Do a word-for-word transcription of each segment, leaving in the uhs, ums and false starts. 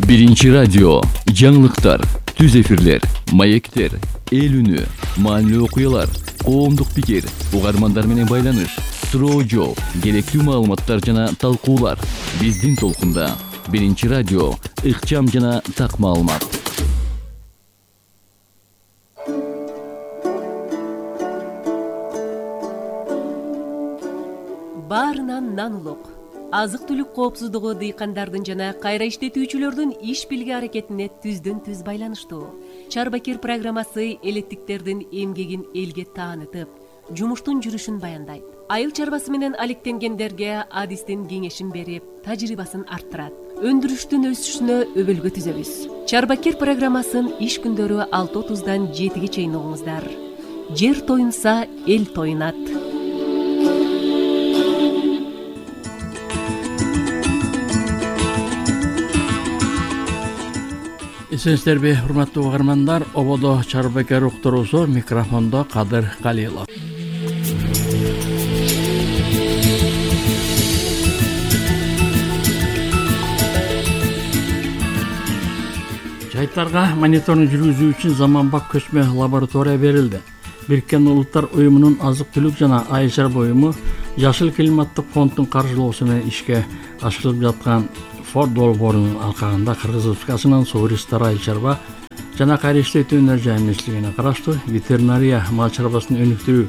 Биринчи радио, жаңылыктар, түз эфирлер, маектер, эл үнү, маанилүү окуялар, коомдук пикир, угармандар менен байланыш, суроо жооп, керектүү маалыматтар жана талкуулар. Биздин толкунда Биринчи радио, ыкчам жана так маалымат. Баарынан нан улук. Азык-түлүк коопсуздугу дыйкандардын жана кайра иштетүүчүлөрдүн иш билги аракетине түздөн түз байланыштуу. Чарбакир программасы элеттиктердин эмгегин элге таанытып, жумуштун жүрүшүн баяндайт. Айыл чарбасы менен алектенгендерге адистин кеңешин берип, тажрыйбасын арттырат. Өндүрүштүн өсүшүнө өбөлгө түзөбүз. Чарбакир программасын иш күндөрү алты отуздан жетиге чейин угуңуздар. Жер тоюнса, эл тоюнат. Эсенсиздерби, урматтуу угармандар, ободо Чарбакир уктуруусу, микрофондо Кадыр Калилов. Жайттарга мониторинг жүргүзүү үчүн заманбап көчмө лаборатория берилди. Бириккен Улуттар уюмунун азык-түлүк жана айыл чарба уюму Жашыл климаттык фонддун каржылоосу менен ишке ашырылып жаткан Форд долбоорунун алкагында Кыргыз Республикасынын Суу ресурстары айыл чарба жана кайра иштетүү өнөр-жай министрлигине караштуу ветеринария мал чарбасын өнүктүрүү,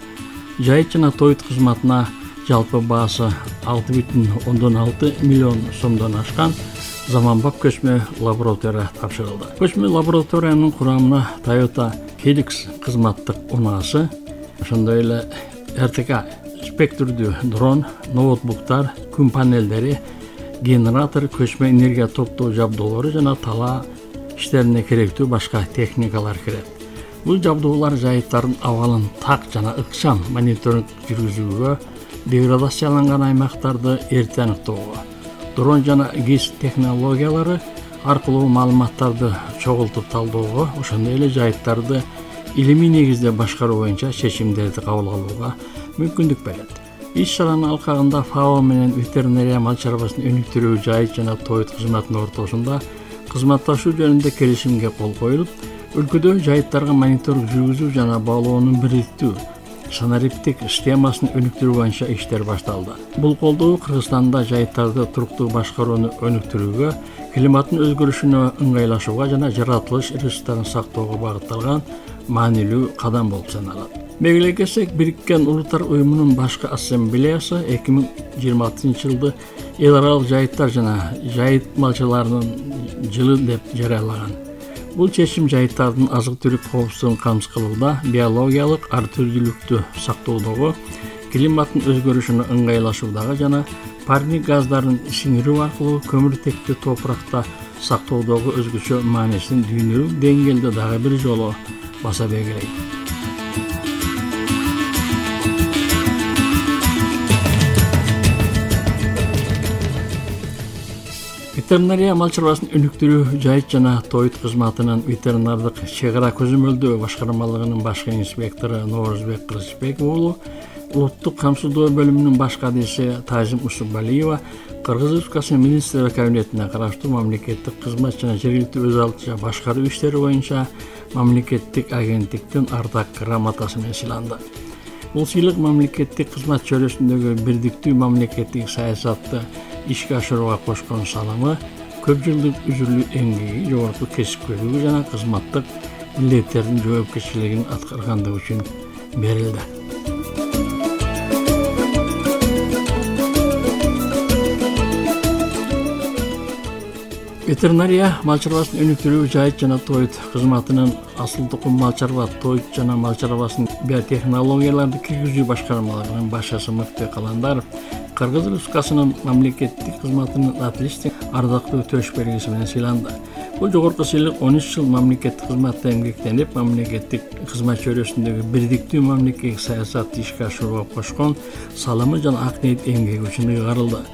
жайыт жана тоют кызматына жалпы баасы алты бүтүн ондон алты миллион сомдон ашкан заманбап көчмө лаборатория тапшырылды. Көчмө лабораториянын курамына Toyota Helix кызматтык унаасы, ошондой эле эр тэ ка спектрдүү дрон, ноутбуктар, күн панелдери, генератор, көчмө энергия топтоо жабдуулары жана талаа иштерине керектүү башка техникалар кирет. Бул жабдуулар жайыттардын абалын так жана ыкчам мониторинг жүргүзүүгө, деградацияланган аймактарды эрте аныктоого, дрон жана гис технологиялары аркылуу маалыматтарды чогултуп талдоого, ошондой эле жайыттарды илимий негизде башкаруу боюнча чечимдерди кабыл алууга мүмкүндүк берет. Иш-чаранын алкагында ФАО менен ветеринария мал чарбасын өнүктүрүү, жайыт жана тоют кызматынын ортосунда кызматташуу жөнүндө келишимге кол коюлуп, өлкөдө жайыттарга мониторинг жүргүзүү жана баалоону бириктүү санариптик системасын өнүктүрүү боюнча иштер башталды. Бул колдоо Кыргызстанда жайыттарды туруктуу башкарууну өнүктүрүүгө, климаттын өзгөрүшүнө ыңгайлашууга жана жаратылыш ресурстарын сактоого багытталган маанилүү кадам болуп саналат. Мегилей келсек, Бириккен Улуттар уюмунун башкы ассамблеясы эки миң жыйырма алтынчы жылды эл аралык жайыттар жана жайыт малчыларынын жылы деп жарыялаган. Бул чечим жайыттардын азык-түлүк коопсуздугун камсыз кылууда, биологиялык ар түрдүүлүктү сактоодогу, климаттын өзгөрүшүнө ыңгайлашуудагы жана парник газдарын сиңирүү аркылуу көмүртекти топуракта сактоодогу өзгөчө маанисин дүйнөлүк деңгээлде дагы бир жолу баса белгилейт. Ветеринария мал чарбасын өнүктүрүү, жайыт жана тоют кызматынын ветеринардык чек ара көзөмөлдөө башкармалыгынын башкы инспектору Ноорузбек Кыргызбек уулу, улуттук камсыздоо бөлүмүнүн баш кадиси Тазим Усубалиева Кыргыз Республикасынын министрлер кабинетине караштуу мамлекеттик кызмат жана жергиликтүү өз алдынча башкаруу иштери боюнча мамлекеттик агенттиктин ардак грамотасы менен сыйланды. Бул сыйлык мамлекеттик кызмат чөйрөсүндөгү бирдиктүү мамлекеттик саясатты ишке ашырууга кошкон салымы, көп жылдык үзүрлүү эмгеги, жогорку кесипкөйлүгү жана кызматтык милдеттердин жоопкерчилигин аткаргандыгы үчүн берилди. Ветеринария мал чарбасын өнүктүрүү, жайыт жана тоют кызматынын асыл тукум мал чарба, тоют жана мал чарбасын биотехнологияларды киргизүү башкармалыгынын башчысы Мыкты Каландаров Кыргыз Республикасынын мамлекеттик кызматынын отличник ардактуу төш белгиси менен сыйланды. Бул жогорку сыйлык он үч жыл мамлекеттик кызматта эмгектенип, мамлекеттик кызмат чөйрөсүндөгү бирдиктүү мамлекеттик саясатты ишке ашырууга кошкон салымы жана ак ниет эмгеги үчүн ыйгарылды.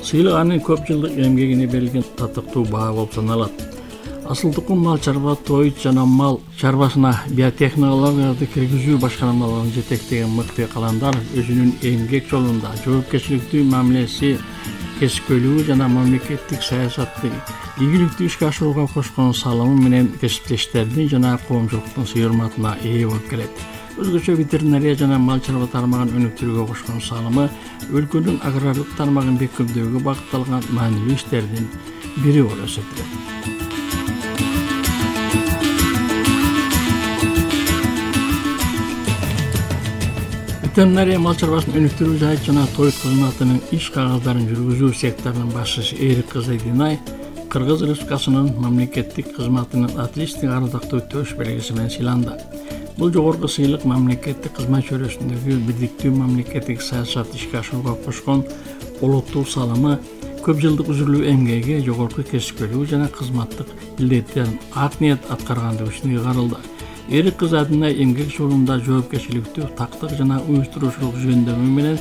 Сыйлык анын көп жылдык эмгегине берилген татыктуу баа болуп саналат. Асыл тукум мал чарба, тоют жана мал чарбасына биотехнологияларды киргизүү башкармалыгын жетектеген Мыкты Каландаров өзүнүн эмгек жолунда жоопкерчиликтүү мамилеси кесипкөйлүгү жана мамлекеттик саясатты ийгиликтүү ишке ашырууга кошкон салымы менен кесиптештердин жана коомчулуктун сый урматына ээ болуп келет. Өзгөчө ветеринария жана мал чарба тармагын өнүктүрүүгө кошкон салымы өлкөнүн агрардык тармагын бекемдөөгө багытталган маанилүү иштердин бири болуп эсептелет. Ветеринария мал чарбасын өнүктүрүү жайыт жана той кызматынын иш кагаздарын жүргүзүү секторунун башчысы Эрик Кызы Динай Кыргыз Республикасынын мамлекеттик кызматынын отличник ардактуу төш белгиси менен сыйланды. Бул жогорку сыйлык мамлекеттик кызмат чөйрөсүндөгү бирдиктүү мамлекеттик саясат ишке ашырууга кошкон олуттуу салымы, көп жылдык үзүлүү эмгеги, жогорку кесипкөйлүгү жана кызматтык милдеттерин ак ниет аткаргандыгы үчүн ыйгарылды. Эрик Кызы Динай эмгек жолунда жоопкерчиликтүү, тактык жана уюштуруучулук жөндөмү менен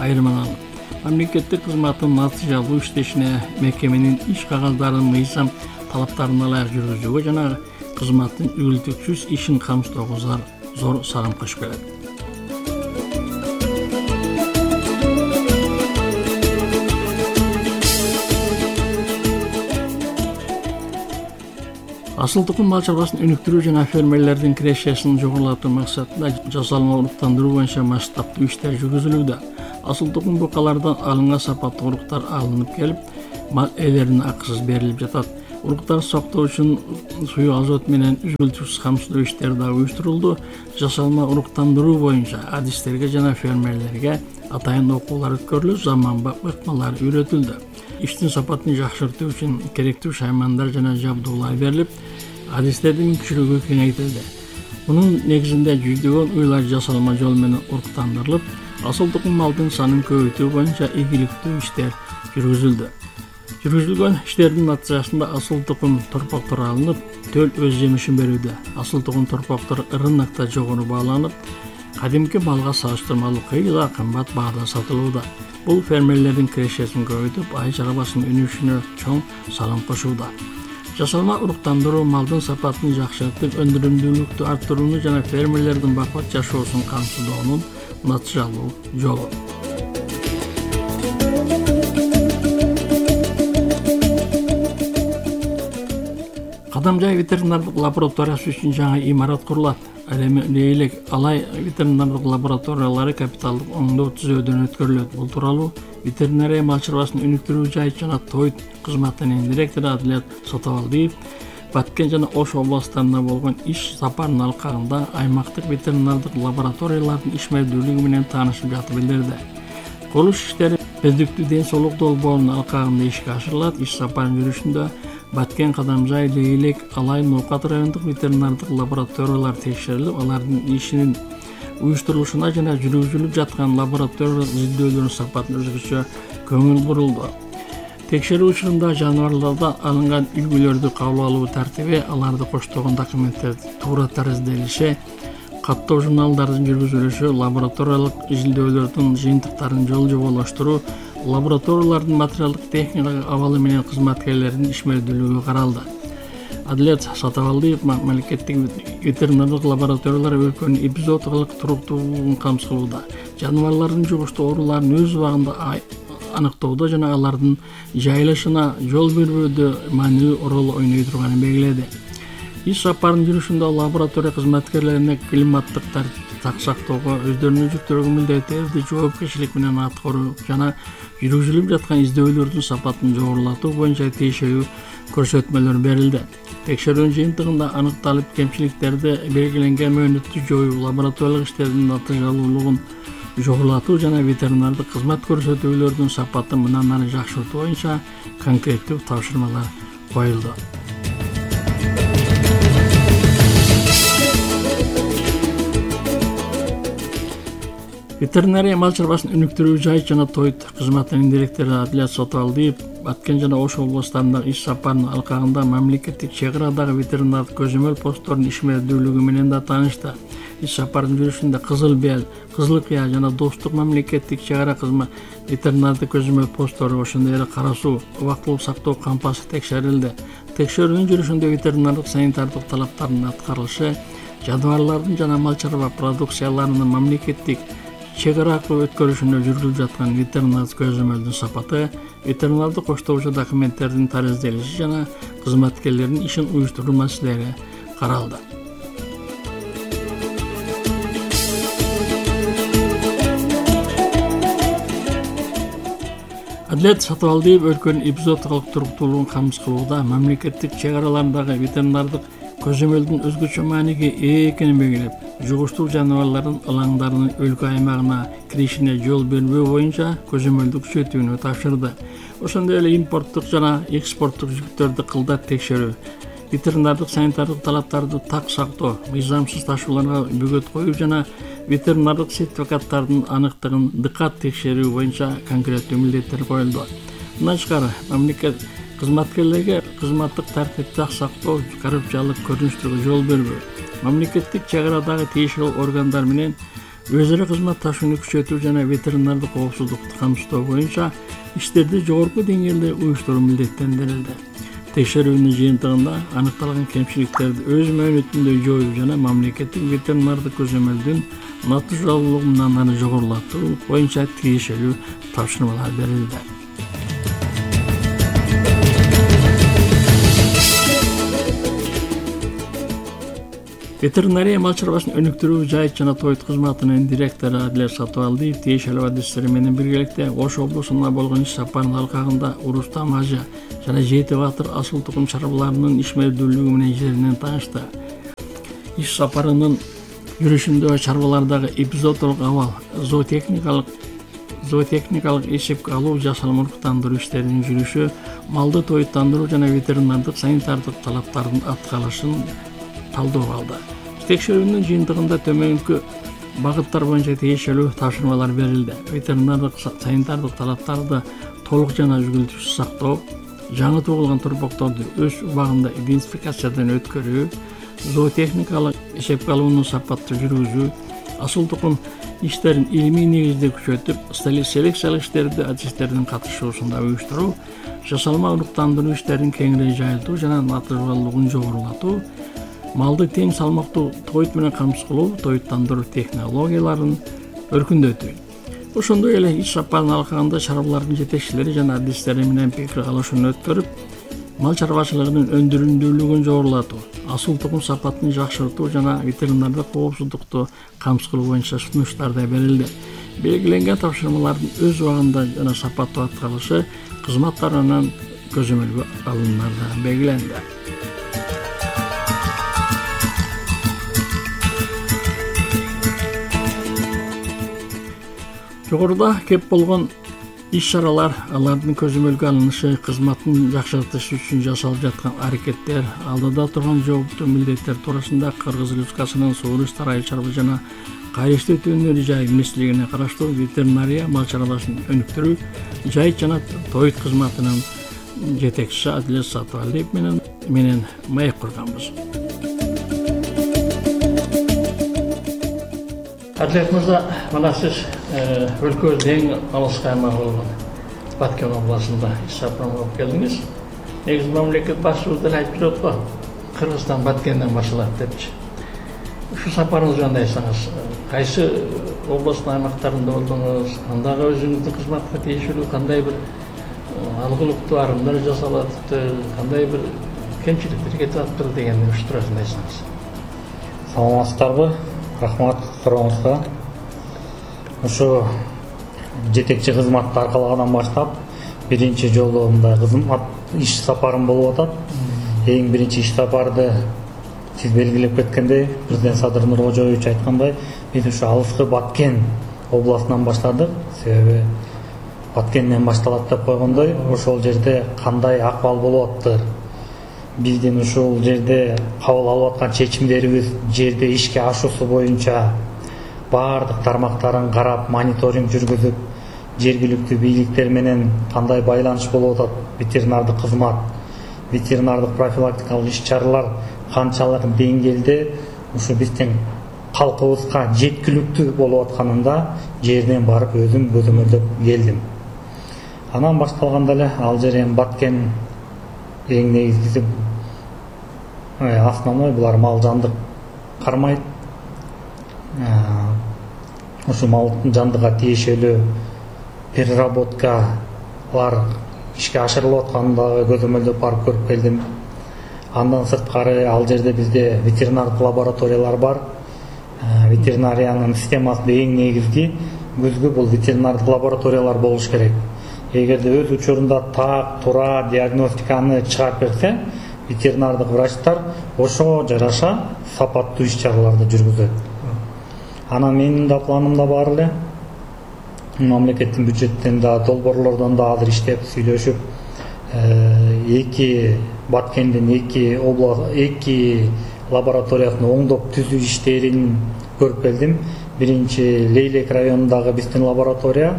айырмаланып, мамлекеттик кызматтын натыйжалуу иштешине, мекеменин иш кагаздарын мыйзам талаптарына ылайык жүргүзүүгө жана кызматтын үгүлтүксүз ишин камсыздоого зор салым кошуп келет. Асыл тукум мал чарбасын өнүктүрүү жана фермерлердин кирешесин жогорулатуу максатында жасалма уруктандыруу боюнча масштабтуу иштер жүргүзүлүүдө. Асыл тукум букалардан алынган сапаттуу уруктар алынып келип, мал ээлерине акысыз берилип жатат. Уруктар сактоо үчүн суу азот менен үзүлтүксүз камсыздоо иштери да уюштурулду. Жасалма уруктандыруу боюнча адистерге жана фермерлерге атайын окуулар өткөрүлүп, заманбап ыкмалар үйрөтүлдү. Иштин сапатын жакшыртуу үчүн керектүү шаймандар жана жабдуулар берилип, адистердин мүмкүнчүлүгү кеңейтилди. Мунун негизинде жүздөгөн уйлар жасалма жол менен уруктандырылып, асыл тукум малдын санын көбөйтүү боюнча ийгиликтүү иштер жүргүзүлдү. Жүргүзүлгөн иштердин натыйжасында асыл тукум торпоктор алынып, төл өз жемишин берүүдө. Асыл тукум торпоктор рынокто жогору бааланып, кадимки малга салыштырмалуу кыйла кымбат баада сатылууда. Бул фермерлердин кирешесин көбөйтүп, ай чарбасынын өнүгүшүнө чоң салым кошууда. Жасалма уруктандыруу малдын сапатын жакшыртып, өндүрүмдүүлүктү арттырууну жана фермерлердин бакыт жашоосун камсыздоонун натыйжалуу жолу. Кадамжай ветеринардык лабораториясы үчүн жаңы имарат курулат. Ал эми Лейлек Алай ветеринардык лабораториялары капиталдык оңдоо түзөөдөн өткөрүлөт. Бул тууралуу ветеринария мал чарбасын өнүктүрүү жайыт жана той кызматынын директору Адилет Сотовалдиев Баткен жана Ош областарында болгон иш сапарынын алкагында аймактык ветеринардык лабораториялардын ишмердүүлүгү менен таанышып жатып билдирди. Курулуш иштери Өздүктүү ден соолук долбоорунун алкагында ишке ашырылат. Иш сапарынын жүрүшүндө Баткен, Кадамжай, Лейлек, Алай, Ноокат райондук ветеринардык лабораториялар текшерилип, алардын ишинин уюштурулушуна жана жүргүзүлүп жаткан лаборатория изилдөөлөрүнүн сапатына өзгөчө көңүл бурулду. Текшерүү учурунда жаныбарлардан алынган үлгүлөрдү кабыл алуу тартиби, аларды коштогон документтерди туура таразделиши, каттоо журналдардын жүргүзүлүшү, лабораториялык изилдөөлөрдүн жыйынтыктарын жол жоболоштуруу, лабораториялардын материалдык техникалык абалы менен кызматкерлердин ишмердүүлүгү каралды. Адилет Сатовалдиев мамлекеттик ветеринардык лабораториялар өлкөнүн эпизодикалык туруктуулугун камсыз кылууда. Жаныбарлардын жугуштуу ооруларын өз убагында аныктоодо жана алардын жайылышына жол бербөөдө маанилүү роль ойной турганын белгиледи. Иш сапарынын жүрүшүндө лаборатория кызматкерлерине климаттык тартип сактоого, өздөрүнүн жүктөлгөн милдеттерди жоопкерчилик менен аткаруу жана жүргүзүлүп жаткан издөөлөрдүн сапатын жогорулатуу боюнча тиешелүү көрсөтмөлөр берилди. Текшерүүнүн жыйынтыгында аныкталып, кемчиликтерди белгиленген мөөнөттү жоюу, лабораториялык иштердин натыйжалуулугун жогорулатуу жана ветеринардык кызмат көрсөтүүлөрдүн сапатын мындан ары жакшыртуу боюнча конкреттүү тапшырмалар коюлду. Ветеринария мал чарбасын өнүктүрүү жайыт жана той кызматынын директору Адилет Сотовалдиев Баткен жана Ош областарындагы иш сапарынын алкагында мамлекеттик чек арадагы ветеринардык көзөмөл посттордун ишмердүүлүгү менен да таанышты. Иш сапарынын жүрүшүндө Кызыл Бел, Кызыл Кыя жана Достук мамлекеттик чек ара кызмат ветеринардык көзөмөл посттору, ошондой эле Кара Суу убактылык сактоо кампасы текшерилди. Текшерүүнүн жүрүшүндө ветеринардык санитардык талаптардын аткарылышы, жаныбарлардын жана мал чарба продукцияларынын мамлекеттик чек ара аркылуу өткөрүшүнө жүргүзүлүп жаткан ветеринардык көзөмөлдүн сапаты, ветеринардык коштоочу документтердин таризделиши жана кызматкерлердин ишин уюштуруу маселелери каралды. Адлет Сатыбалдиев өлкөнүн эпизодикалык туруктуулугун камсыз кылууда мамлекеттик чек араларындагы ветеринардык көзөмөлдүн өзгөчө мааниге ээ экенин белгилеп, жугуштуу жаныбарлардын ылаңдарынын өлкө аймагына киришине жол бербөө боюнча көзөмөлдү күчөтүүнү тапшырды. Ошондой эле импорттук жана экспорттук жүктөрдү кылдат текшерүү, ветеринардык санитардык талаптарды так сактоо, мыйзамсыз ташууларга бөгөт коюу жана ветеринардык сертификаттардын аныктыгын дыкат текшерүү боюнча конкреттүү милдеттер коюлду. Мындан тышкары, мамлекет кызматкерлерге кызматтык тартипти так сактоо, коррупциялык көрүнүштөргө жол бербөө, мамлекеттик чек арадагы тиешелүү органдар менен өз ара кызматташууну күчөтүү жана ветеринардык коопсуздукту камсыздоо боюнча иштерди жогорку деңгээлде уюштуруу милдеттендирилди. Текшерүүнүн жыйынтыгында аныкталган кемчиликтерди өз мөөнөтүндө жоюу жана мамлекеттик ветеринардык көзөмөлдүн натыйжалуулугун аны жогорулатуу боюнча тиешелүү тапшырмалар берилди. Ветеринария мал чарбасын өнүктүрүү жайыт жана тоyut кызматынын директору Адлет Сатыбалдиев тиешелүү адистери менен биргеликте Ош облусуна болгон иш сапарынын алкагында Урустам Ажа жана Жети Батыр асыл тукум чарбаларынын ишмердүүлүгү менен жеринен таанышты. Иш сапарынын жүрүшүндө чарбалардагы эпизоддук абал, зоотехникалык зоотехникалык эсепке алуу, жасалма уруктандыруу иштеринин жүрүшү, малды тоюттандыруу жана ветеринардык санитардык талаптардын аткарылышын талдоого алды. Текшерүүнүн жыйынтыгында төмөнкү багыттар боюнча тиешелүү тапшырмалар берилди. Ветеринардык санитардык талаптарды толук жана үзгүлтүксүз сактоо, жаңы туулган турбокторду өз убагында идентификациядан өткөрүү, зоотехникалык эсепке алуунун сапаттуу жүргүзүү, асыл тукум иштерин илимий негизде күчөтүп, селекциялык иштерди адистердин катышуусунда уюштуруу, жасалма уруктандыруу иштерин кеңири жайылтуу жана натыйжалуулугун жогорулатуу, малды тең салмактуу тоyut менен камсыз кылуу, тоюттандыруу технологияларын өркүндөтүү. Ошондой эле иш сапарынын алкагында чарбалардын жетекчилери жана адистери менен пикир алышууну өткөрүп, мал чарбачылыгынын өндүрүмдүүлүгүн жогорулатуу, асыл тукум сапатын жакшыртуу жана ветеринардык коопсуздукту камсыз кылуу боюнча сунуштар да берилди. Белгиленген тапшырмалардын өз убагында жана сапаттуу аткарылышы кызмат тарабынан көзөмөлгө алынары белгиленди. Жогоруда кеп болгон иш-чаралар, алардын көзөмөлгө алынышы, кызматтын жакшыртышы үчүн жасалып жаткан аракеттер, алдыда турган жооптуу милдеттер туурасында Кыргыз Республикасынын Суур иштери айыл чарба жана кайрыштуу өтүүнү жай министрлигине караштуу ветеринария мал чарбасын өнүктүрүү жайыт жана тоyut кызматынын жетекчиси Адлет Сатыбалдиев менен менен маек курганбыз. Адлет мырза, мына сиз өлкөбүздүн эң алыскы аймагы болгон Баткен областында иш сапарын болуп келдиңиз. Негизи мамлекет башчыбыз деле айтып жүрөт го, Кыргызстан Баткенден башталат депчи. Ушу сапарыңыз жөнүндө айтсаңыз, кайсы областтын аймактарында болдуңуз, андагы өзүңүздүн кызматка тиешелүү кандай бир алгылыктуу арымдар жасалат, кандай бир кемчиликтер кетип атыптыр дегенди ушу туурасында айтсаңыз. Саламатсыздарбы? Рахмат сурооңузга. Ушу жетекчи кызматты аркалагандан баштап биринчи жолу мындай кызмат иш сапарым болуп атат. Эң биринчи иш сапарды сиз белгилеп кеткендей, президент Садыр Нуркожоевич айткандай, биз ушу алыскы Баткен областынан баштадык. Себеби Баткенден башталат деп койгондой, ошол жерде кандай акыбал болуп атыптыр, биздин ушул жерде кабыл алып аткан чечимдерибиз жерде ишке ашуусу боюнча баардык тармактарын карап, мониторинг жүргүзүп, жергиликтүү бийликтер менен кандай байланыш болуп атат, ветеринардык кызмат, ветеринардык профилактикалык иш-чаралар канчалык деңгээлде ушу биздин калкыбызга жеткиликтүү болуп атканында жерден барып өзүм көзөмөлдөп келдим. Анан башталганда эле ал жер эми Баткен эң негизгиси основной булар мал жандык кармайт. ушу малдын жандыга тиешелүү переработкалар ишке ашырылып атканын дагы көзөмөлдөп барып көрүп келдим. Андан сырткары ал жерде бизде ветеринардык лабораториялар бар. Ветеринариянын системасында эң негизги көзгү бул ветеринардык лабораториялар болуш керек. Эгерде өз учурунда так, туура диагностиканы чыгарып берсе, ветеринардык врачтар ошого жараша сапаттуу иш-чараларды жүргүзөт. Анан менин да планымда бар эле. Мамлекеттин бюджеттен да, долбоорлордон да азыр иштеп, сүйлөшүп, эки Баткендин эки област, эки лабораториясын оңдоп түзүү иштерин көрүп келдим. Биринчи Лейлек районундагы биздин лаборатория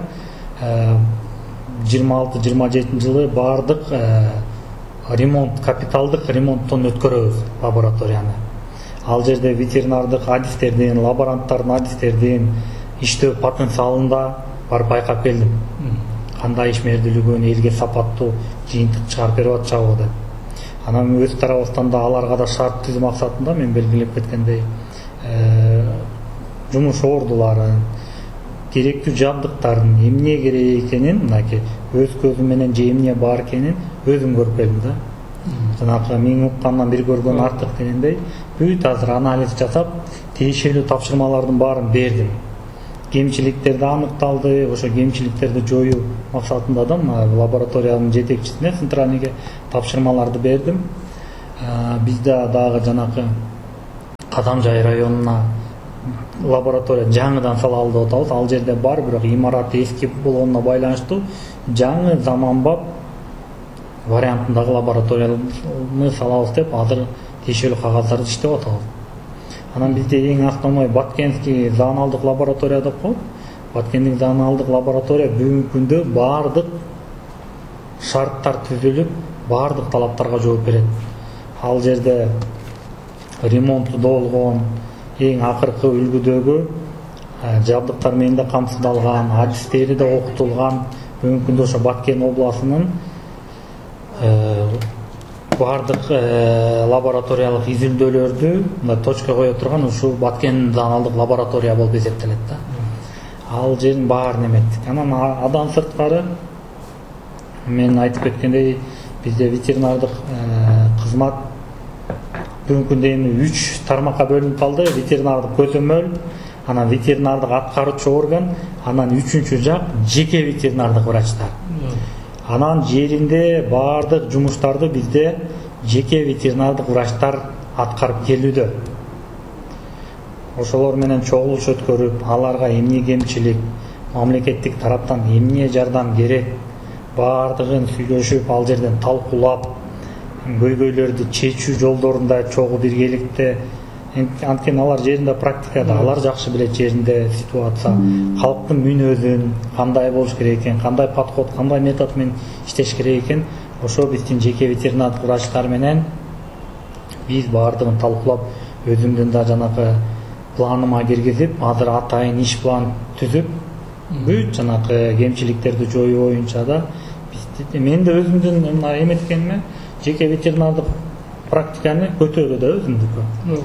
жыйырма алты жыйырма жетинчи жылы баардык ремонт, капиталдык ремонттон өткөрөбүз лабораторияны. Ал жерде ветеринардык адистердин, лаборанттардын адистердин иштөө потенциалында бар байкап келдим. Кандай ишмердүүлүгүн, элге сапаттуу жыйынтык чыгарып берип атышабы деп. Анан өз тарабыбыздан да аларга да шарт түзүү максатында мен белгилеп кеткендей жумуш ордуларын, керектүү жабдыктарын, эмне керек экенин, мынакей өз көзүм менен же эмне бар экенин өзүм көрүп келдим да. Жанагы миң уккандан бир көргөн артык дегендей, бүт азыр анализ жасап, тиешелүү тапшырмалардын баарын бердим. Кемчиликтерди аныкталды, ошо кемчиликтерди жоюу максатында да лабораториянын жетекчисине, центральныйге тапшырмаларды бердим. Бизде дагы жанагы Кадамжай районуна лаборатория жаңыдан салалы деп атабыз. Ал жерде бар, бирок имараты эски болгонуна байланыштуу жаңы заманбап вариантындагы лабораторияны салабыз деп азыр тиешелүү кагаздарды иштеп атабыз. Анан бизде эң основной Баткенский зооналдык лаборатория деп коет. Баткендик зооналдык лаборатория бүгүнкү күндө баардык шарттар түзүлүп, баардык талаптарга жооп берет. Ал жерде ремонту болгон, эң акыркы үлгүдөгү жабдыктар менен да камсыздалган, адистери да окутулган. Бүгүнкү күндө ошо Баткен областынын баардык лабораториялык изилдөөлөрдү мындай точка кое турган ушул Баткен зооналдык лаборатория болуп эсептелет да. Ал жердин баарын эметтик. Анан адан сырткары мен айтып кеткендей, бизде ветеринардык кызмат бүгүнкү күндө эми үч тармакка бөлүнүп калды. Ветеринардык көзөмөл, анан ветеринардык аткаруучу орган, анан үчүнчү жак жеке ветеринардык врачтар. Анан жеринде баардык жумуштарды бизде жеке ветеринардык врачтар аткарып келүүдө. Ошолор менен чогулуш өткөрүп, аларга эмне кемчилик, мамлекеттик тараптан эмне жардам керек, баардыгын сүйлөшүп, ал жерден талкуулап, көйгөйлөрдү чечүү жолдорунда чогуу биргеликте. Анткени алар жеринде практикада, алар жакшы билет жеринде ситуация, калктын мүнөзүн, кандай болуш керек экен, кандай подход, кандай метод менен иштеш керек экен. Ошо биздин жеке ветеринардык врачтар менен биз баардыгын талкуулап, өзүмдүн да жанагы планыма киргизип, азыр атайын иш план түзүп, бүт жанагы кемчиликтерди жоюу боюнча да биз мен да өзүмдүн мына эметкениме жеке ветеринардык практиканы көтөрдү да өзүмдүкү.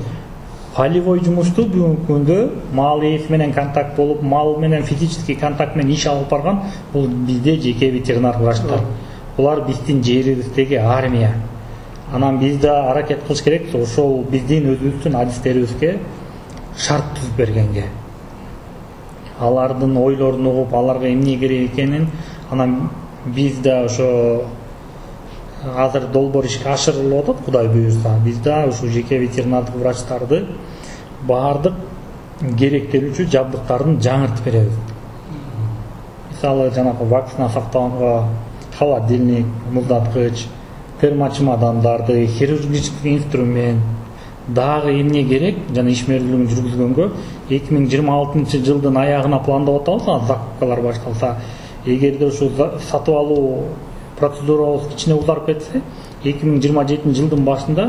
Полевой жумушту бүгүнкү күндө мал ээси менен контакт болуп, мал менен физический контакт менен иш алып барган бул бизде жеке ветеринар врачтар. Булар биздин жерибиздеги армия. Анан биз да аракет кылыш керек ошол биздин өзүбүздүн адистерибизге шарт түзүп бергенге. Алардын ойлорун угуп, аларга эмне керек экенин, анан биз да ошо азыр долбоор ишке ашырылып атат, Кудай буйрса. Биз да ушу жеке ветеринардык врачтарды баардык керектелүүчү жабдыктарын жаңыртып беребиз. Мисалы, жанагы вакцина сактаганга холодильник, муздаткыч, термочемодандарды, хирургический инструмент, дагы эмне керек, жана ишмердүүлүгүн жүргүзгөнгө эки миң жыйырма алтынчы жылдын аягына пландап атабыз, закупкалар башталса. Эгерде ушу сатып алуу процедурабыз кичине узарып кетсе, эки миң жыйырма жетинчи жылдын башында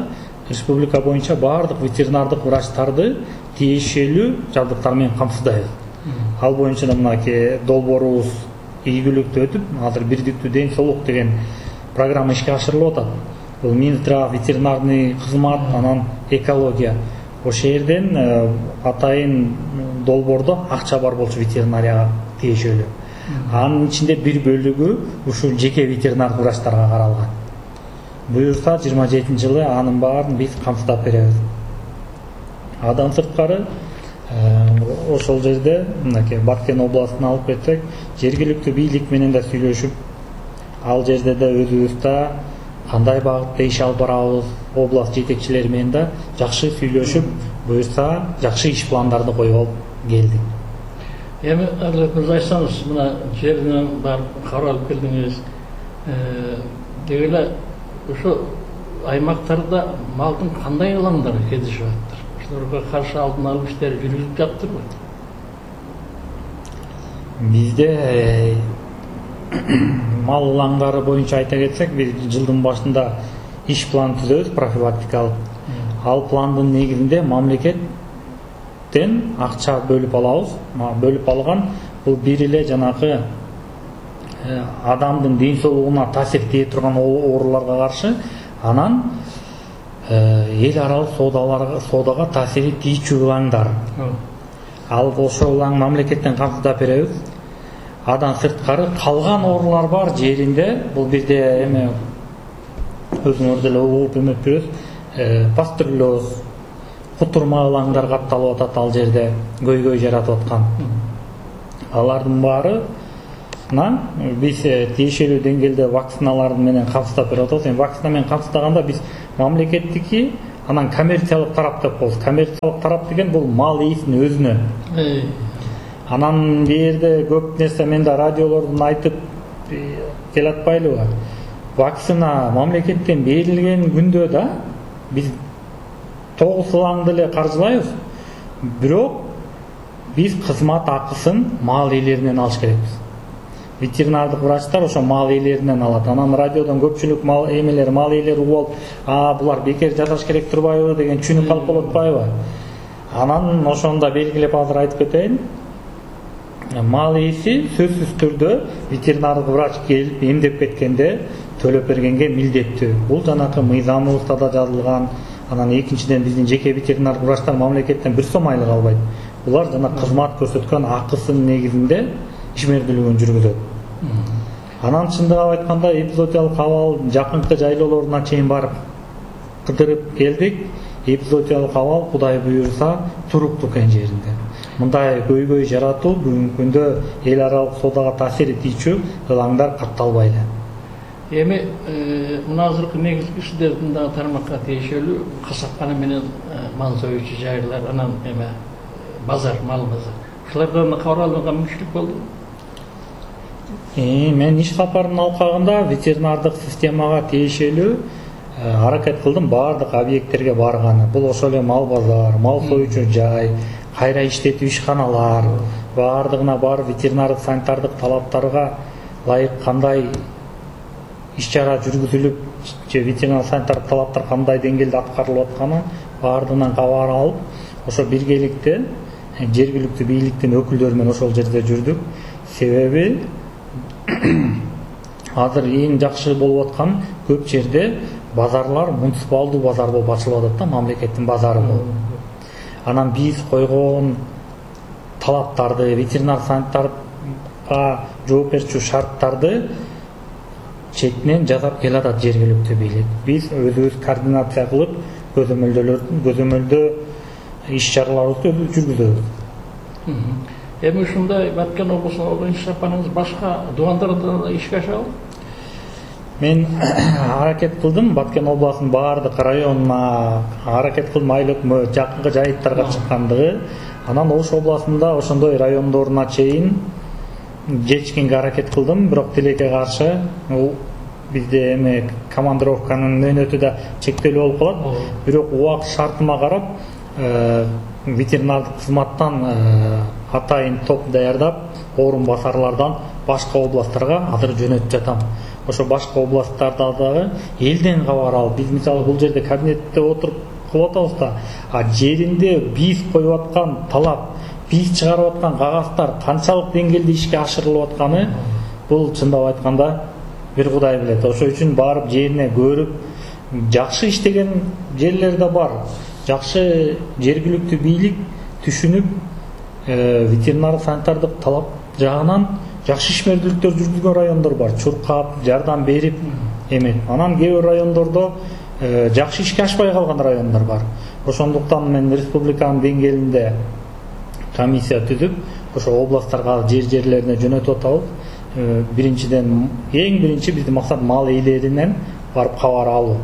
республика боюнча баардык ветеринардык врачтарды тиешелүү жабдыктар менен камсыздайбыз. Ал боюнча да мынакей долбоорубуз ийгиликтүү өтүп, азыр бирдиктүү ден соолук деген программа ишке ашырылып атат. Бул Минздрав, ветеринарный кызмат, анан экология. Ошол жерден атайын долбоордо акча бар болчу ветеринарияга тиешелүү. Анын ичинде бир бөлүгү ушул жеке ветеринардык врачтарга каралган. Буюрса жыйырма жетинчи жылы анын баарын биз камсыздап беребиз. Адан сырткары ошол жерде мынакей Баткен областына алып кетсек, жергиликтүү бийлик менен да сүйлөшүп, ал жерде да өзүбүздө кандай багытта иш алып барабыз, област жетекчилери менен да жакшы сүйлөшүп, буюрса жакшы иш пландарды коюп алып келдик. Эми Адилет айтсаңыз, мына жеринен барып каралып келдиңиз. Деги эле ошо аймактарда малдын кандай ылаңдары кездешип атат? Ошолорго каршы алдын алуу иштери жүргүзүлүп жатырбы? Бизде мал ылаңдары боюнча айта кетсек, биз жылдын башында иш план түзөбүз, профилактикалык. Ал пландын негизинде мамлекеттен акча бөлүп алабыз. Бөлүп алган бул бир эле жанакы адамдын ден соолугуна таасир тие турган ооруларга каршы, анан эл аралык соодаларга соодага таасири тийчү ылаңдар. Ал ошол ылаң мамлекеттен камсыздап беребиз. Адан сырткары калган оорулар бар жеринде, бул бирде эме өзүңөр деле угуп эметпирсиз, пастерлоз, кутурма ылаңдар катталып атат ал жерде, көйгөй жаратып аткан. Алардын баарына биз тиешелүү деңгээлде вакциналар менен камсыздап берип атабыз. Эми вакцина менен камсыздаганда биз мамлекеттики, анан коммерциялык тарап деп коебуз. Коммерциялык тарап деген бул мал ээсинин өзүнө. Анан бул жерде көп нерсе мен да радиолордон айтып келатпайлыбы? Вакцина мамлекеттен берилген күндө да биз тогуз ылаңды эле каржылайбыз. Бирок биз кызмат акысын мал ээлеринен алыш керекпиз. Ветеринардык врачтар ошо мал ээлеринен алат. Анан радиодон көпчүлүк мал эмелер, мал ээлери угуп алып, а булар бекер жасаш керек турбайбы деген түшүнүк калып болуп атпайбы? Анан ошону да белгилеп азыр айтып кетейин. Мал ээси сөзсүз түрдө ветеринардык врач келип эмдеп кеткенде төлөп бергенге милдеттүү. Бул жанакы мыйзамыбызда да жазылган. Анан экинчиден биздин жеке ветеринардык врачтар мамлекеттен бир сом айлык албайт. Булар жана кызмат көрсөткөн акысынын негизинде ишмердүүлүгүн жүргүзөт. Анан чындыгын айтканда эпизоотиялык абал жакынкы жайлоолоруна чейин барып кыдырып келдик. Эпизоотиялык абал Кудай буйрса туруктуу экен жеринде. Мындай көйгөй жаратуу бүгүнкү күндө эл аралык соодага таасири тийчү ылаңдар катталбай эле. Эми мына азыркы негизги иштердин дагы тармакка тиешелүү касапкана менен мал союучу жайлар, анан эме базар, мал базар. Ушулардан кабар алууга мүмкүнчүлүк болду. Мен иш сапарынын алкагында ветеринардык системага тиешелүү аракет кылдым баардык объекттерге барганы. Бул ошол эле мал базар, мал союучу жай, кайра иштетүү ишканалар, баардыгына барып ветеринардык санитардык талаптарга ылайык кандай иш-чара жүргүзүлүп, же ветеринар санитардык талаптар кандай деңгээлде аткарылып атканын баардыгынан кабар алып, ошо биргеликте жергиликтүү бийликтин өкүлдөрү менен ошол жерде жүрдүк. Себеби азыр эң жакшы болуп аткан көп жерде базарлар муниципалдуу базар болуп ачылып атат да, мамлекеттин базары болуп. Анан биз койгон талаптарды, ветеринар санитарга жооп берчү шарттарды четинен жасап келатат жергиликтүү бийлик. Биз өзүбүз координация кылып, көзөмөлдөлөрдүн көзөмөлдөө иш-чараларыбызды жүргүзөбүз. Эми ушундай Баткен облусуна болгон иш сапарыңыз башка дубандарда да ишке ашабы? Мен аракет кылдым Баткен областынын баардык районуна аракет кылдым, айыл өкмөт жакынкы жайыттарга чыккандыгы. Анан Ош областында ошондой райондоруна чейин жетишкенге аракет кылдым, бирок тилекке каршы бизде эме командировканын мөөнөтү да чектелүү болуп калат. Бирок убакыт шартыма карап ветеринардык кызматтан атайын топ даярдап, орун басарлардан башка областтарга азыр жөнөтүп жатам. Ошо башка областтарда дагы элден кабар алып, биз мисалы бул жерде кабинетте отуруп кылып атабыз да, а жеринде биз коюп аткан талап, биз чыгарып аткан кагаздар канчалык деңгээлде ишке ашырылып атканы, бул чындап айтканда бир Кудай билет. Ошо үчүн барып жерине көрүп, жакшы иштеген жерлер да бар. Жакшы жергиликтүү бийлик түшүнүп, ветеринардык санитардык талап жагынан жакшы ишмердүүлүктөр жүргүзгөн райондор бар, чуркап, жардам берип эметип. Анан кээ бир райондордо жакшы ишке ашпай калган райондор бар. Ошондуктан мен республиканын деңгээлинде комиссия түзүп, ошо областтарга жер жерлерине жөнөтүп атабыз. Биринчиден, эң биринчи биздин максат мал ээлеринен барып кабар алуу.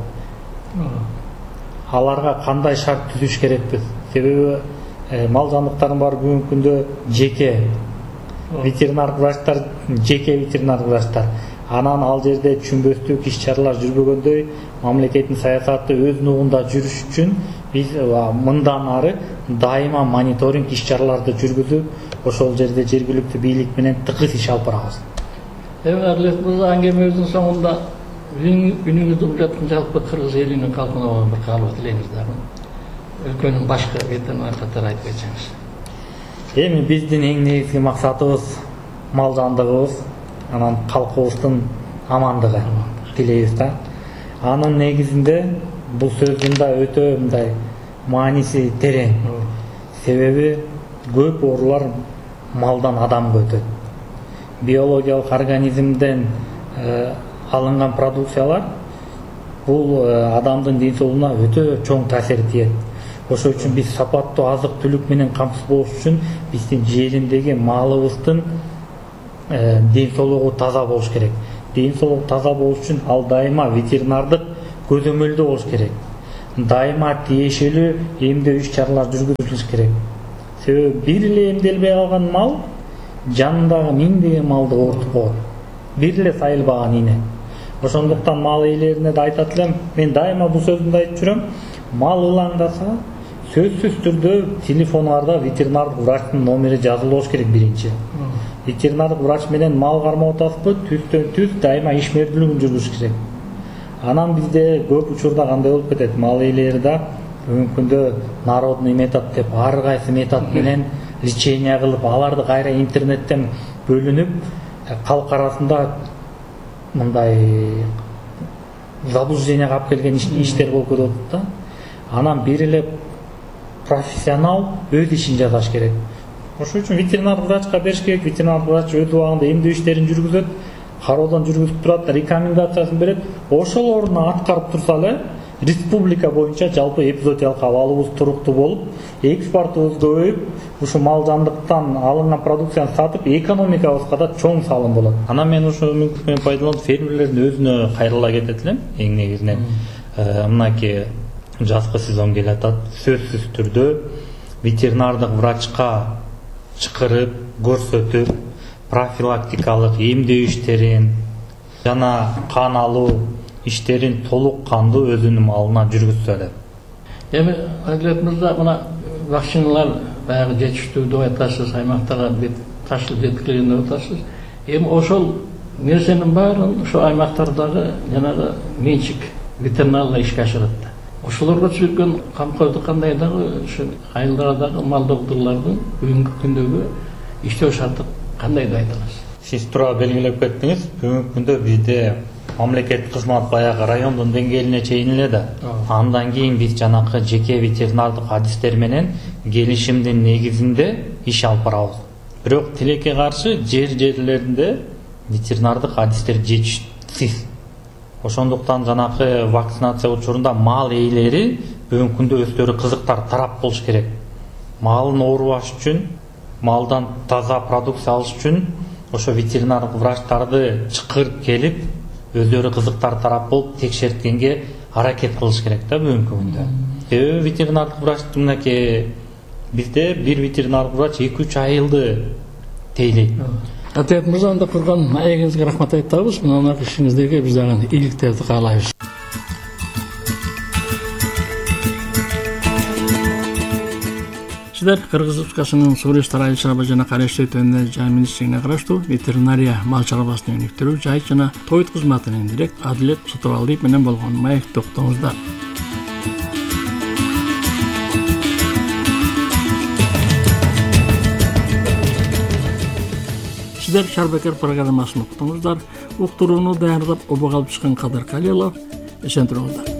Аларга кандай шарт түзүш керекпиз? Себеби мал жандыктардын баары бүгүнкү күндө жеке ветеринардык врачтар, жеке ветеринардык врачтар. Анан ал жерде түшүнбөстүк иш-чаралар жүрбөгөндөй, мамлекеттин саясаты өз нугунда жүрүш үчүн биз мындан ары дайыма мониторинг иш-чараларды жүргүзүп, ошол жерде жергиликтүү бийлик менен тыгыз иш алып барабыз. Эми Адилет мырза, аңгемебиздин соңунда үнүңүздү угуп жалпы кыргыз элинин калкына бир каалоо тилейбиз дагы. Өлкөнүн башкы ветеринар катары айтып кетсеңиз. Эми биздин эң негизги максатыбыз мал жандыгыбыз, анан калкыбыздын амандыгы тилейбиз да. Анын негизинде бул сөздүн да өтө мындай мааниси терең. Себеби көп оорулар малдан адамга өтөт. Биологиялык организмден алынган продукциялар бул адамдын ден соолугуна өтө чоң таасир этет. Ошол үчүн биз сапаттуу азык-түлүк менен камсыз болуш үчүн биздин жериндеги малыбыздын ден соолугу таза болуш керек. Ден соолугу таза болуш үчүн ал дайыма ветеринардык көзөмөлдө болуш керек. Дайыма тиешелүү эмдөө иш-чаралар жүргүзүлүш керек. Себеби бир эле эмделбей калган мал жанындагы миңдеген малды оорутуп коет. Бир эле сайылбаган ийне. Ошондуктан мал ээлерине да айтат элем, мен дайыма бул сөздү да айтып жүрөм. Мал ылаңдаса, сөзсүз түрдө телефоңарда ветеринардык врачтын номери жазылып болуш керек биринчи. Ветеринардык врач менен мал кармап атасызбы, түздөн түз дайыма ишмердүүлүгүн жүргүзүш керек. Анан бизде көп учурда кандай болуп кетет, мал ээлери да бүгүнкү күндө народный метод деп ар кайсы метод менен лечение кылып, аларды кайра интернеттен бөлүнүп, калк арасында мындай заблужденияга алып келген иштер болуп кетип атат да. Анан бир эле профессионал өз ишин жасаш керек. Ошол үчүн ветеринар врачка бериш керек. Ветеринар врач өз убагында эмдөө иштерин жүргүзөт, кароодон жүргүзүп турат, рекомендациясын берет. Ошол ордуна аткарып турса эле республика боюнча жалпы эпизоотиялык абалыбыз туруктуу болуп, экспортубуз көбөйүп, ушу мал жандыктан алынган продукцияны сатып, экономикабызга да чоң салым болот. Анан мен ошол мүмкүнчүлүктөн пайдаланып фермерлердин өзүнө кайрыла кетет элем. Эң негизинен мынакей жазкы сезон келе атат. Сөзсүз түрдө ветеринардык врачка чакырып, көрсөтүп, профилактикалык эмдөө иштерин жана кан алуу иштерин толук кандуу өзүнүн малына жүргүзсө эле. Эми Адилет мырза, мына вакциналар баягы жетиштүү деп айтасыз, аймактарга бет ташылып жеткирилген деп атасыз. Эми ошол нерсенин баарын ошо аймактардагы жанагы менчик ветеринарлар ишке ашырат да. Ошолорго түзүлгөн камкордук кандай дагы ушу айылдардагы мал доктурлардын бүгүнкү күндөгү иштөө шарты кандай деп айта аласыз? Сиз туура белгилеп кеттиңиз. Бүгүнкү күндө бизде мамлекеттик кызмат баягы райондун деңгээлине чейин эле да. Андан кийин биз жанакы жеке ветеринардык адистер менен келишимдин негизинде иш алып барабыз. Бирок тилекке каршы жер жерлеринде ветеринардык адистер жетишсиз. Ошондуктан жанакы вакцинация учурунда мал ээлери бүгүнкү күндө өздөрү кызыктар тарап болуш керек. Малын оорубаш үчүн, малдан таза продукция алыш үчүн ошо ветеринардык врачтарды чакырып келип, өздөрү кызыктар тарап болуп текшерткенге аракет кылыш керек да бүгүнкү күндө. Себеби ветеринардык врач мынакей бизде бир ветеринардык врач эки үч айылды тейлейт. Адилет мырза, анда курган маегиңизге рахмат айтабыз. Мына ишиңиздеги биз дагы ийгиликтерди каалайбыз. Сиздер Кыргыз Республикасынын Суу иштери айыл чарба жана кара иштөө жөнүндө жай министрлигине караштуу ветеринария мал чарбасынын өнүктүрүү жайыт жана тоют кызматынын директ Адилет Сотовалдиев менен болгон маекти уктуңуздар. Сиздер Шарбекер программасын уктуңуздар. Уктурууну даярдап обого алып чыккан Кадыр Калилов. Эсен туруңуздар.